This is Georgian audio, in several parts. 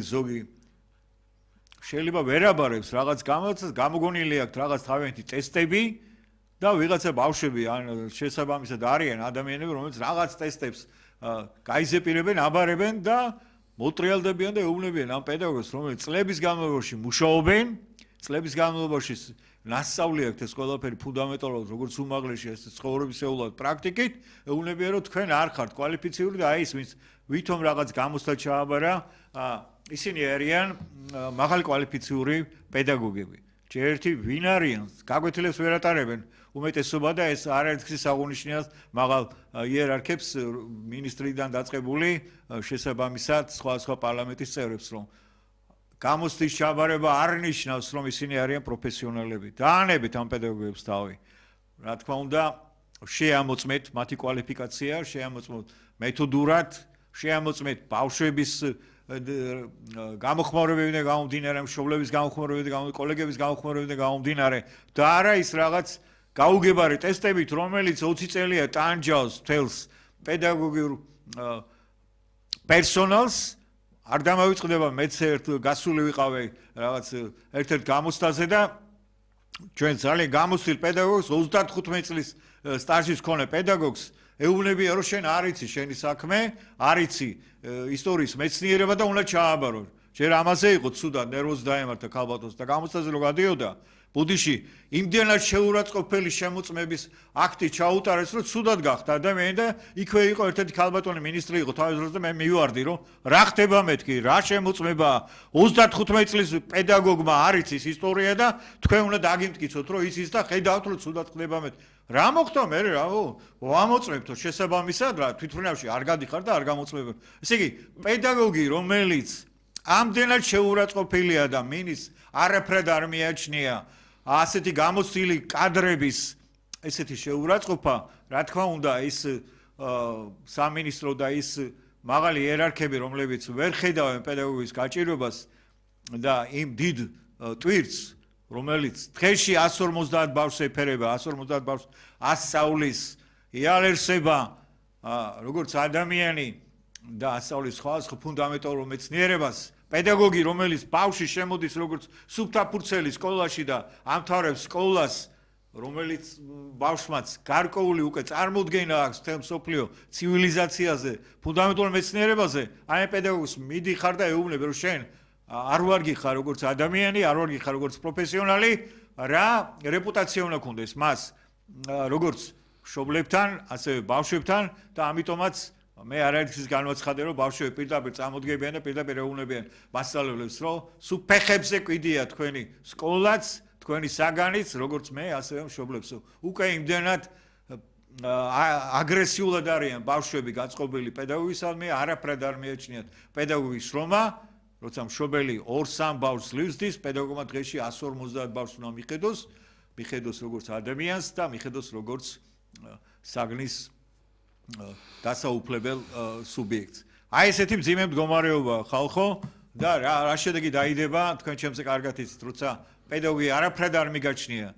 ზოგი შეიძლება ვერ აბარებს რაღაც გამოცდას, გამოგონილი აქვს რაღაც თავიანთი ტესტები და ვიღაცა ბავშვები ან შესაბამისად არიან ადამიანები, რომლებიც რაღაც ტესტებს გაიზეპირებენ, აბარებენ და მოტრიალდებიან და ეუბნებიან ამ პედაგოგს, რომელიც წლების განმავლობაში მუშაობენ, წლების განმავლობაში ნასწავლი აქვს ეს ყველაფერი ფუნდამენტალურად, როგორც უმაღლესი ეს ცხოვრებისეულად პრაქტიკით, ეუბნებიან, რომ თქვენ არ ხართ კვალიფიციური და აი ის ვინც ვითომ რაღაც გამოცდა ჩააბარა, ისინი არიან მაღალი კვალიფიციური პედაგოგები. ჯერერთი ვინ არიან, გაკვეთილებს ვერ ატარებენ, უმეტესობა და ეს არაერთგზის აღუნიშნავს მაღალ იერარქებს მინისტრიდან დაწყებული შესაბამისად სხვა პარლამენტის წევრებს, რომ გამოცდის ჩაბარება არ ნიშნავს, რომ ისინი არიან პროფესიონალები. დაანებით ამ პედაგოგებს თავი. რა თქმა უნდა, შეამოწმეთ მათი კვალიფიკაცია, შეამოწმოთ მეთოდურად, შეამოწმეთ ბავშვების გამოხმაურებებიდან გამომდინარე, მშობლების გამოხმაურებებიდან, კოლეგების გამოხმაურებებიდან გამომდინარე და არა ის რაღაც გაუგებარი ტესტებით, რომელიც 20 წელია ტანჯავს თელს პედაგოგიურ პერსონალს, არ დამავიწყდება მეც გასული ვიყავი რაღაც ერთ-ერთ გამოცდაზე და ჩვენ ძალიან გამოცდილ პედაგოგს 35 წლის სტაჟის მქონე პედაგოგს ეუბნებიან, რომ შენ არ იცი შენი საქმე, არ იცი ისტორიის მეცნიერება და უნდა ჩააბარო. ჯერ ამაზე იყო ცუდად ნერვოზ დაემართა ქალბატონს და გამოცდაზე რო გადიოდა ბუდიში იმდენად შეურაცხყოფელი შემოწმების აქტი ჩაუტარეს, რომ ცუდად გახდა ადამიანი და იქვე იყო ერთ-ერთი ქალბატონი მინისტრი იყო თავის დროს და მე მივარდი, რომ რა ხდება მეთქი, რა შემოწმებაა 35 წლის პედაგოგმა არ იცის ისტორია და თქვენ უნდა დაგიმტკიცოთ, რომ იცის და ხედავთ, რომ ცუდად ხდება მეთქი. რა მოხდა მე რა ვამოწმებთო შესაბამისად რა თვითმფრინავში არ გადიხარ და არ გამოწმებებ. ესე იგი პედაგოგი რომელიც ამდენად შეურაცხყოფილია და მინის არაფრად არ მიაჩნია ასეთი გამოცდილი კადრების ესეთი შეურაცხყოფა, რა თქმა უნდა ის სამინისტრო და ის მაღალი იერარქები, რომლებიც ვერ ხედავენ პედაგოგის გაჭირვებას და იმ დიდ ტვირთს, რომელიც დღეში 150 ბავშვს ეფერება, 150 ბავშვს ასწავლის, იალერსება როგორც ადამიანი და ასწავლის სხვა ფუნდამენტალურ მეცნიერებას, პედაგოგი, რომელიც ბავშვი შემოდის როგორც სუფთაფურცელი სკოლაში და ამთავრებს სკოლას, რომელიც ბავშვმაც გარკვეული უკვე წარმოდგენა აქვს მთელ მსოფლიო ცივილიზაციაზე, ფუნდამენტალურ მეცნიერებაზე, აი პედაგოგს მიდიხარ და ეუბნები, რომ შენ არ ვარ გიხარ როგორც ადამიანი, არ ვარ გიხარ როგორც პროფესიონალი, რა რეპუტაცია უნდა გქონდეს მას როგორც მშობლებთან, ასევე ბავშვებთან და ამიტომაც მე არაერთგზის განვაცხადე, რომ ბავშვები პირდაპირ წამოდგებიან და პირდაპირ ეუბნებიან მასწავლებლებს, რომ სულ ფეხებზე კვიდია თქვენი სკოლაც, თქვენი საგანიც, როგორც მე, ასევე მშობლებს. უკვე იმდენად აგრესიულად არიან ბავშვები გაწყობილი პედაგოგისადმი, არაფრად არ მიაჩნიათ პედაგოგის შრომა, როცა მშობელი 2-3 ბავშვს ლივსდის, პედაგოგმა დღეში 150 ბავშვს უნდა მიხედოს როგორც ადამიანს და მიხედოს როგორც საგნის დასაუფლებელ სუბიექტს. აი ესეთი მძიმე მდგომარეობა ხალხო და რა შედეგი დაიდება, თქვენ ჩემზე კარგად იცით, როცა პედაგოგი არაფრად არ მიგაჩნია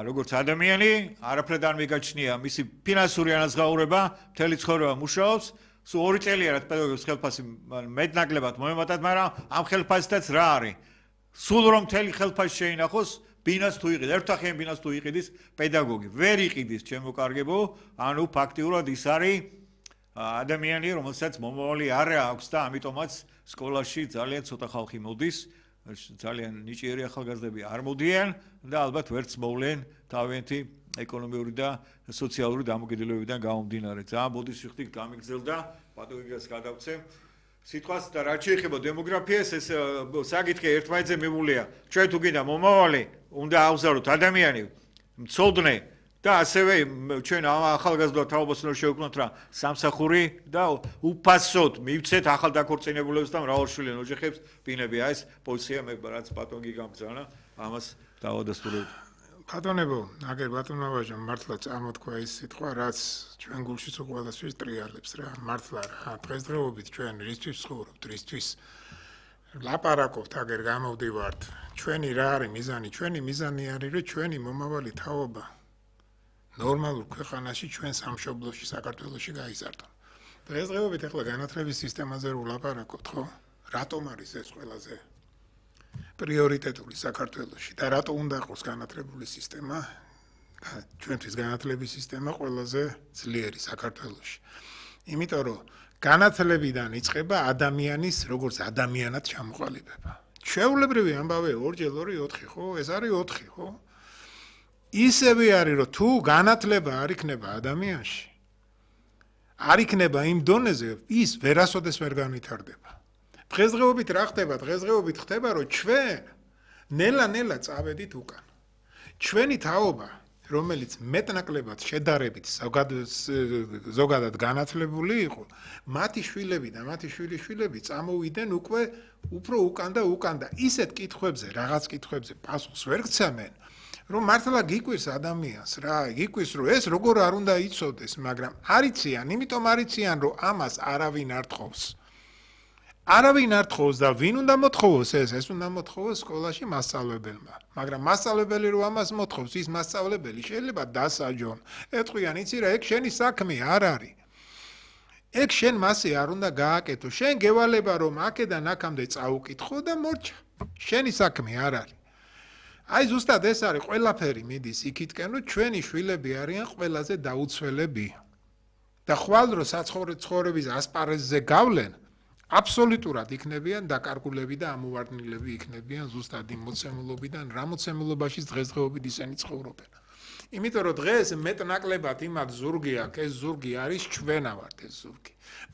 როგორც ადამიანი, არაფრად არ მიგაჩნია მისი ფინანსური ანაზღაურება, მთელი ცხოვრება მუშაობს, სულ 2 წელია რაც პედაგოგის ხელფასი მეტნაკლებად მოემატათ, მაგრამ ამ ხელფასითაც რა არის? სულ რომ მთელი ხელფასი შეინახოს, ბინას თუ იყიდს, ერთახიან ბინას თუ იყიდის პედაგოგი, ვერ იყიდის ჩემო კარგებო, ანუ ფაქტიურად ის არის ადამიანი, რომელსაც მომავალი არ აქვს და ამიტომაც სკოლაში ძალიან ცოტა ხალხი მოდის, ძალიან ნიჭიერი ახალგაზრდები არ მოდიან და ალბათ ვერც მოვლენ თავიანთი ეკონომიური და სოციალური დამოკიდებულებიდან გამომდინარე. ძალიან ბოდიშხტი გამიგზელდა, პატოგიგას გადავცემ. სიტყვას და რაც შეეხება დემოგრაფიას, ეს საკითხი ერთმანეთზე მიმულია. ჩვენ თუ გინდა მომავალი, უნდა ავზაროთ ადამიანი, მცოდნე და ასევე ჩვენ ახალგაზრდა თაობას უნდა შევქმნათ რა სამსახური და უფასოდ მივცეთ ახალ დაქორწინებულებს და მრავალშვილიან ოჯახებს ბინები. აი ეს პოზიცია მე რაც პატონგი გამბრძანა, ამას დავადასტურებ. ბატონებო, აგერ ბატონო ვაჟა, მართლა წარმოთქვა ის სიტყვა, რაც ჩვენ გულშიც ყველასთვის ტრიალებს რა. მართლა რა, დღესდღეობით ჩვენ რისთვის ცხოვრობთ, რისთვის ლაპარაკობთ, აგერ გამოვდივართ. ჩვენი რა არის მიზანი? ჩვენი მიზანი არის, რომ ჩვენი მომავალი თაობა ნორმალურ ქვეყანაში, ჩვენ სამშობლოში, საქართველოში გაიზარდონ. დღესდღეობით ახლა განათლების სისტემაზე რო ვლაპარაკობთ, ხო? რატომ არის ეს ყველაზე პრიორიტეტული საქართველოში და რატო უნდა იყოს განათლებული სისტემა, ჩვენთვის განათლების სისტემა ყველაზე ძლიერი საქართველოში. იმიტომ რომ განათლებიდან იწყება ადამიანის როგორც ადამიანად ჩამოყალიბება. ჩვეულებრივი ამბავია 2x2 4, ხო? ეს არის 4, ხო? ისევე არის რომ თუ განათლება არ იქნება ადამიანში, არ იქნება იმ დონეზე, ის ვერასოდეს ვერ განვითარდება. დღესდღეობით რა ხდება? დღესდღეობით ხდება, რომ ჩვენ ნელა-ნელა წავედით უკან. ჩვენი თაობა, რომელიც მეტნაკლებად შედარებით ზოგადად განათლებული იყო, მათი შვილები და მათი შვილიშვილები წამოვიდნენ უკვე უფრო უკან და უკან და ისეთ კითხვებზე, რაღაც კითხვებზე პასუხს ვერ გცემენ, რომ მართლა გიკვირს ადამიანს რა, გიკვირს რომ ეს როგორ არ უნდა იცოდეს, მაგრამ არიციან, იმიტომ არიციან, რომ ამას არავინ არ თხოვს. არავინ არ თხოვს და ვინ უნდა მოთხოვოს ეს უნდა მოთხოვოს სკოლაში მასწავლებელმა. მაგრამ მასწავლებელი რო ამას მოთხოვს, ის მასწავლებელი შეიძლება დასაჯონ. ეთქვიან, იცი რა, ეგ შენი საქმე არ არის. ეგ შენ მასე არ უნდა გააკეთო. შენ გევალება რომ აქედან აქამდე წაუკითხო და მორჩა. შენი საქმე არ არის. აი ზუსტად ეს არის ყველაფერი მიდის იქითკენ, რომ ჩვენი შვილები არიან ყველაზე დაუცველები. და ხვალ რო საცხოვრების ასპარეზზე გავლენ, აბსოლუტურად იქნებიან დაკარგულები და ამოვარდნილები იქნებიან ზუსტად იმ მოცემულობიდან, რა მოცემულობაში დღესდღეობით ისინი ცხოვრობენ. იმიტომ რომ დღეს მეტნაკლებად იმათ ზურგი აქვს, ეს ზურგი არის ჩვენა ვართ ეს ზურგი.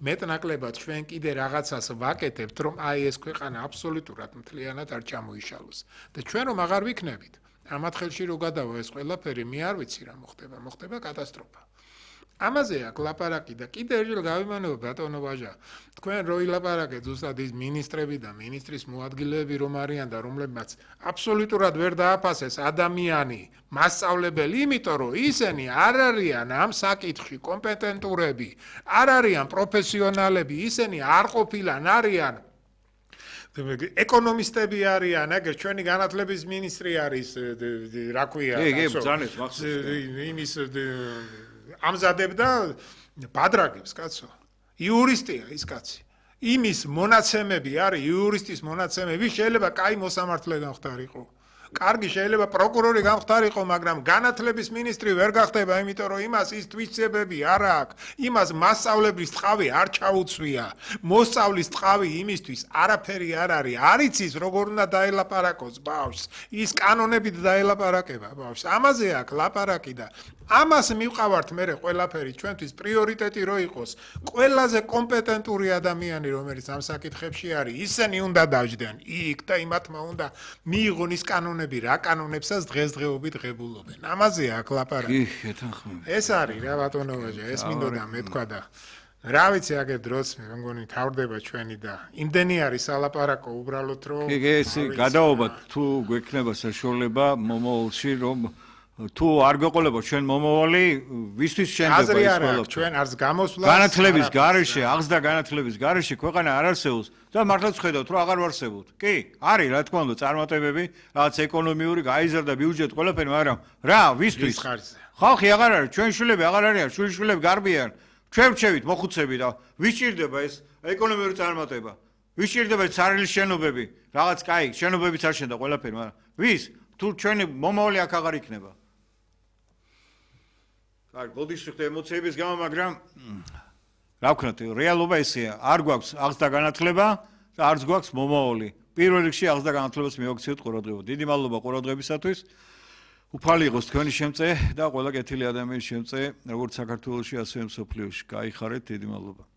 მეტნაკლებად ჩვენ კიდე რაღაცას ვაკეთებთ, რომ აი ეს ქვეყანა აბსოლუტურად მთლიანად არ ჩამოიშალოს. და ჩვენ რომ აღარ ვიქნებით, ამათ ხელში რო გადავა ეს ყველაფერი, მე არ ვიცი რა მოხდება, მოხდება კატასტროფა. ამაზე აქ ლაპარაკი და კიდე ერთხელ გავიმანებ ბატონო ვაჟა, თქვენ რო ილაპარაკეთ ზუსტად ის მინისტრები და მინისტრის მოადგილეები რომ არიან და რომლებმაც აბსოლუტურად ვერ დააფასეს ადამიანი, მასწავლებელი, იმიტომ რომ ისინი არ არიან ამ საკითხში კომპეტენტურები, არ არიან პროფესიონალები, ისინი არ ყოფილან არიან ეკონომისტები არიან, აგერ ჩვენი განათლების მინისტრი არის, რა ქვია, იმის ამზადებდა ბადრაგებს, კაცო. იურისტია ის კაცი. იმის მონაცემები არის, იურისტის მონაცემები შეიძლება კაი მოსამართლე გამხდარიყო. კარგი შეიძლება პროკურორი გამხდარიყო, მაგრამ განათლების მინისტრი ვერ გახდება, იმიტომ რომ იმას ის თვისებები არ აქვს. იმას მასწავლებლის ტყავი არ ჩაუცვია. მოსწავლის ტყავი იმისთვის არაფერი არ არის. არ იცის როგორ უნდა დაელაპარაკოს ბავშვს. ის კანონებით დაელაპარაკება ბავშვს. ამაზე აქვს ლაპარაკი და ამას მივყავართ მე ყველაფერი ჩვენთვის პრიორიტეტი რო იყოს. ყველაზე კომპეტენტური ადამიანი რომელიც ამ საკითხებში არის, ისინი უნდა დაждდენ იქ და იმათმა უნდა მიიღონ ის კანონები, რა კანონებსაც დღესდღეობით ღებულობენ. ამაზე აქვს ლაპარაკი. ეს არის რა ბატონო ვაჟა, ეს მინდოდა მეთქვა და რა ვიცი აგერ დროს მე მგონი თავდება ჩვენი და იმდენი არის ალაპარაკო უბრალოდ რომ ეს გადაობა თუ გვექნება საშუალება მომავალში რომ თუ არ გვეყოლება ჩვენ მომავალი ვისთვის შენდება ეს ყველაფერი ჩვენ არც გამოსვლა განათლების გარეშე აღზრდა განათლების გარეშე ქვეყანა არ არსებობს და მართლაც ხედავთ რომ აღარ არსებობთ კი არის რა თქმა უნდა წარმატებები რაღაც ეკონომიური გაიზარდა ბიუჯეტი ყველაფერი მაგრამ რა ვისთვის ხალხი აღარ არის ჩვენ შვილები აღარ არიან შვილიშვილები გარბიან ჩვენ ვჩევით მოხუცები და ვისჭირდება ეს ეკონომიური წარმატება ვისჭირდება ცარილის შენობები რაღაც კაი შენობებიც არ შენდა ყველაფერი მაგრამ ვის თუ ჩვენი მომავალი აქ აღარ იქნება კარგი, გოდის ხდება ემოციების გამო, მაგრამ რა ვქნათ, რეალობა ესეა, არ გვაქვს აღზრდა განათლება და არც გვაქვს მომავალი. პირველ რიგში აღზრდა განათლებას მივაქციოთ ყურადღება. დიდი მადლობა ყურადღებისათვის. უფალი იყოს თქვენი შემწე და ყველა კეთილი ადამიანის შემწე, როგორც საქართველოში, ასევე მსოფლიოში. გაიხარეთ, დიდი მადლობა.